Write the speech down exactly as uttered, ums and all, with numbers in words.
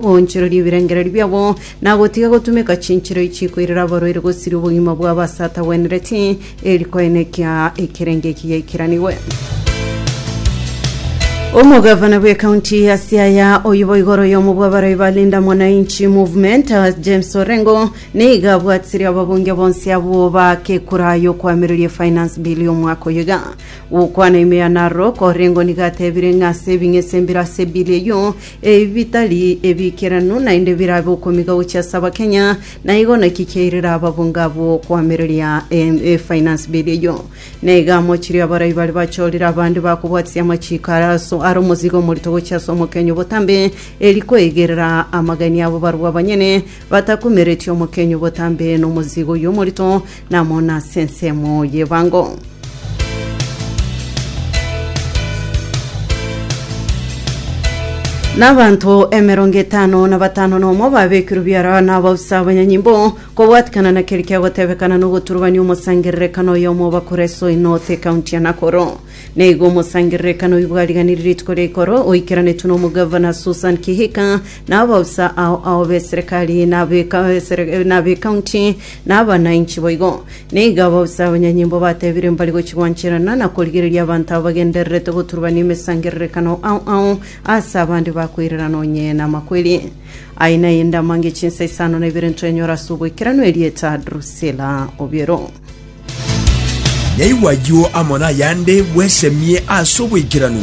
Goonchoreria ebirengererio biabo na gotiga gotumeka chinchera chikoirera abarwaire gosiria obogima bwabo ase atagwenereti eri koenekia ekerenge eki giaikeranigwe. Omogavana bw'ekaunti ya Siaya oyubo igoro y'omo bw'abarai ba Linda Mwananchi Movement uh, James Orengo niga abwatirie ababunge bonsi abwo bakekura y'okwamireria finance bill y'omwaka oyo iga gokwana ime ya Narok. Orengo niga atebire ng'a ase ebing'ese mbire ase ebill eyio ebi bitari ebikeranu naende birabe okomiga gochia ase abakenya na igo naki kiairera ababunge abwo kwamireria eh, eh, finance bill eyio. Niga amochirie abarai bari bachorire abande bakobwatisia amachiko araso are omozigo omorito gochia ase omokenyo botambe eri koegerera amagani abo barwa abanyene batakumeretie omokenyo botambe na omozigo oyo omorito namo na ase ensemo y'ebango. N'abanto emerongo etano na batano nomo babekirwe biara n'abausa abanyanyimbo kobwatikana na keri kiagotebekana n'ogoturubania omosangererekano oyomo bakora Esoi North ekaunti ya Nakuru. Nigo omosangererekano oyo bwariganirie rituko ria ikoro oikeranetwe na omogavana Susan Kihika na abausa ao ao b'eserikali n'ab'ekaunti na abananchi boigo. Nigo abausa abanyanyimbo batebire mbari gochigwancherana na korigereria abanto abo bagendererete goturubania emesangererekano ao ao ase abande bakoirerana onye na amakweri. Aina yende amange chinsa isano na ibere ntwenyora ase oboikeranu erieta Drusilla Obiero. Nyaigwa ayio amo nayande bwesemie ase oboikeranu.